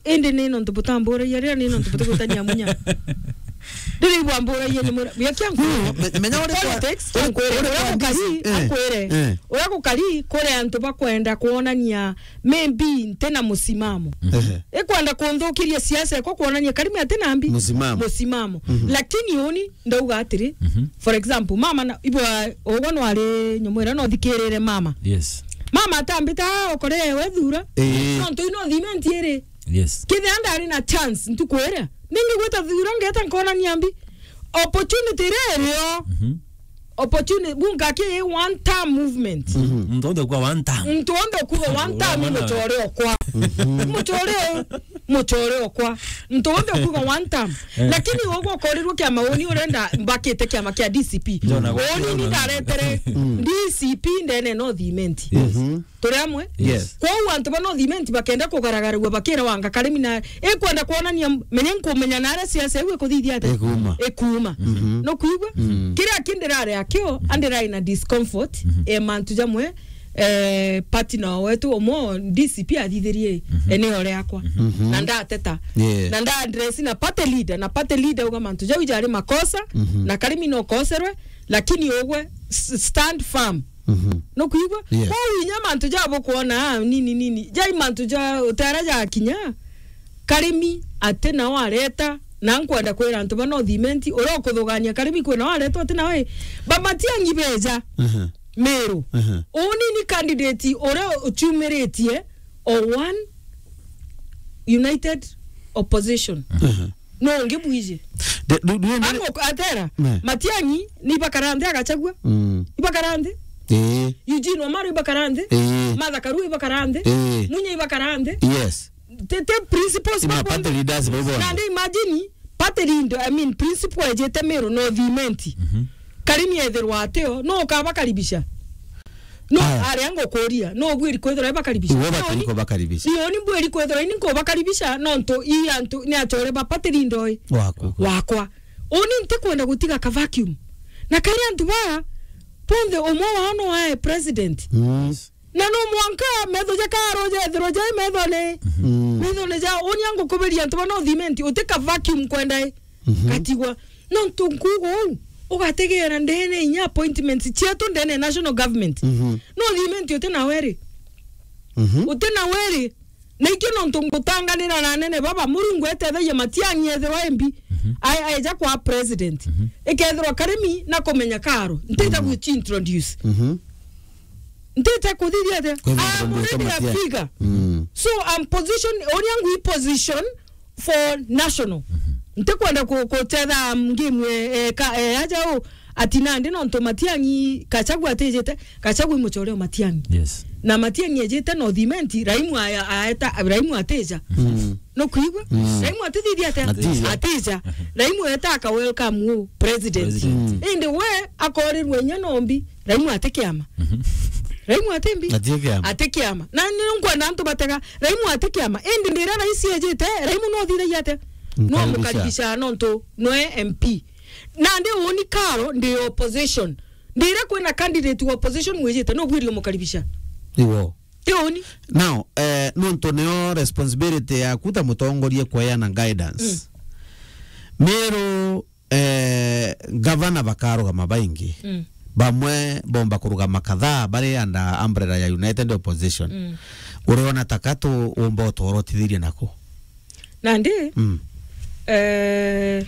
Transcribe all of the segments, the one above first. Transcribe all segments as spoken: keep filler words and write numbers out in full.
Indi ni nontu butamburagia, riria ni nontu butigwitania munya. Riria ibwamburagia ni mura, bia kia nkwire. No, me-, menya uri kwa, politics, uri, uri kwa uria gukari, D C, eh, akwire. Eh. Uria gukari, kuri antu bakwenda kwonania, maybe ntina musimamo. Mhm. Eh. Ikwenda kunthukiria siasa ekwa kwonania Karimi atina mbi. Musimamo. Musimamo. Mhm. Lakini uni, ndauga atiri, mhm, for example, mama na, ibwa, ugwe nwari nyomwira no thikirire mama. Yes. Mama atambita, "Ah, okore we thura." Eh. Nontu ino thimenti iri. Yes. Kethira ndari na chance, ntuku iria, ningigwita thura, ngeta nkonania mbi. Opportunity iria irio. Mhm. Opportunity, bunga ki one term movement. Mhm. Muntu onthe kwa one term. Muntu onthe kuga one term, wana muchore okwa. Mhm. Muchore, muchore okwa. Muntu onthe kuga one term. Eh. Lakini ugwe ukorirwe kia mauni urenda mbakite kiama kia D C P. Njona gwa- Uni ni ndaretere, mm, D C P ndene no thimenti. Yes. Mhm. Turi amwe? Yes. Kwou antu ba North Imenti bakenda kugaragaragua bakira wanga Karimi na ikwenda kwonania m-, menye nkumenya na aria siasa iu ikuthithia atia? Ikuma. Ikuma. Mhm. No kwigua? Mm. Kiria kindi rari akio, mhm, andirai na discomfort, mhm, e mantu jamwe, eh, party na wetu umwe D C P athithirie, mhm, eneo riakwa. Mhm. Na ndateta. Yeah. Na nda address na party leader, na party leader uga mantu jau jari makosa, mhm, na Karimi no koserwe, lakini ugwe s-, stand firm. Mhm. No kwigua? Yes. Kwou inya mantu ja bukwona, ah, nini, nini. Jai mantu ja utera ja kinya. Karimi ati nao areta, na nkwenda kwira antu ba North Imenti, uria ukuthugania Karimi kwi nao areta ati nao, eh, ba Matiang'i beja. Mhm. Meru. Mhm. Uni ni candidate uria uciumiritie o one united opposition. Mhm. No ungi bwiji. De-, du-, du-, Ango atera, ne. Matiang'i, ni ibakara nthi a Gachagua? Mm. Ibakara nthi? Eh. Eugene Wamalwa ibakara nthi? Eh. Martha Karua ibakara nthi? Eh. Munya ibakara nthi? Yes. Te, te principals. Ima ba party leaders ba ibona. Na ndi imagine, party leader, I mean, principal ejete Meru North Imenti. Mhm. Karimi ethirwa atio, no ukabakaribisha? No, aya. Aria ngukuria, no ubwiri kwithirwa ibakaribisha? Iwe batari kubakaribisha. Ni uni mbwiri kwithirwa ini nkubakaribisha, nontu i antu ni achore ba party leader oi. Waku. Wakwa. Uni ntikwenda gutiga ka vacuum. Na kari antu ba, bonthe umwe wao no ae president. Mm. Na no mwanka metho ja karo jethirwa jai methone. Mm. Methone ja, uni angukubiria antu ba North Imenti, uti ka vacuum kwenda i. Mhm. Gatigwa. Nontu nkuuga uu, ugategeera ndene inya appointments cietu ndene ya national government. Mhm. North Imenti uti na weri. Mhm. Uti na weri. Na ikio nontu ngutanganira na anene baba, Murungu etethagia Matiang'i ethirwa M P, mhm, a-, aeja kwa president. Mhm. Ikethirwa Karimi na kumenya karo, ntita, mhm, gwichi introduce. Mhm. Ntite kuthithia atia? Kwithirwa I'm already a figure. Mm. So I'm position, uni angu i position for national. Mhm. Ntikwenda ku-, kutetha game, eh, eh, ka, eh, aja u, ati nandi nontu Matiang'i Gachagua atijite, Gachagua i muchore o Matiang'i. Yes. Na Matiang'i ejite North Imenti, Raimu aya, aeta, Raimu atija. Mm. No kwigua? Mm. Raimu atithithia atia? Atija. Atija. Raimu eta aka welcome u president. President. Mm. Indi we akorirwe inya nombi. Raimu ati kiama. Mhm. Raimu ati mbi? Ati kiama. Ati kiama. Na ni nkwenda antu batega, Raimu ati kiama. Indi ndira raisi ejite, Raimu no thithagia atia? No mukaribisha nontu noe M P. Nandi uni karo ndi opposition. Ndira kwina candidate wa opposition mwijite, no bwiri umukaribisha. Iwo. Ti uni. Now, eh, nontu nio responsibility yaku ta mutongoria kweana guidance. Mm. Meru eh, gavana bakarugama baingi. Mm. Bamwe bomba kurugama kadhaa bari under umbrella ya United Opposition. Mm. Uriona ta ka tu umba utoro utithirie nako? Nandi, mm, eh,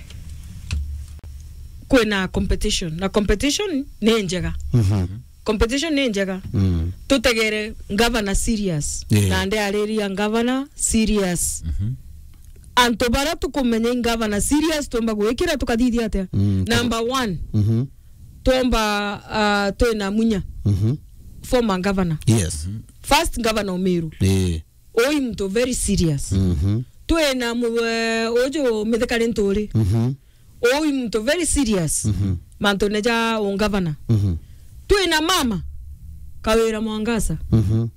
kwina competition. Na competition ni njega. Mhm. Competition ni njega. Mm. Tutegere governor serious. Yeah. Na ndi ariria governor serious. Mhm. Antu baria tukumenya i governor serious, tumba gwikira tukathithia atia? Mm, number one, mhm, twomba, ah, twina Munya. Mhm. Former governor. Yes. First governor o Meru. Eh. Oi muntu very serious. Mhm. Twina mu-, eh, uju Mithika Linturi. Mhm. Oi muntu very serious. Mhm. Mantune ja ungavana. Mhm. Twina mama Kawira Mwangaza. Mhm.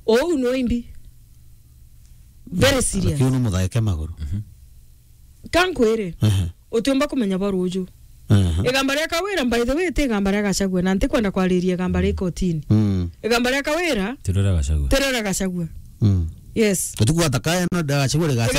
Ou no imbi. Very serious. Lakini ni muthaeke maguru. Mhm. Kankwire. Ehe. Utiumba kumenya ba ruju. Ehe. Igamba ria Kawira, by the way, ti igamba ria Gachagua, na ntikwenda kwariria igamba ria ikotini. Mm. Igamba ria Kawira, tirira Gachagua. Tirira Gachagua. Mm. Yes. Utuku atakaye no ndagachagua rigacha.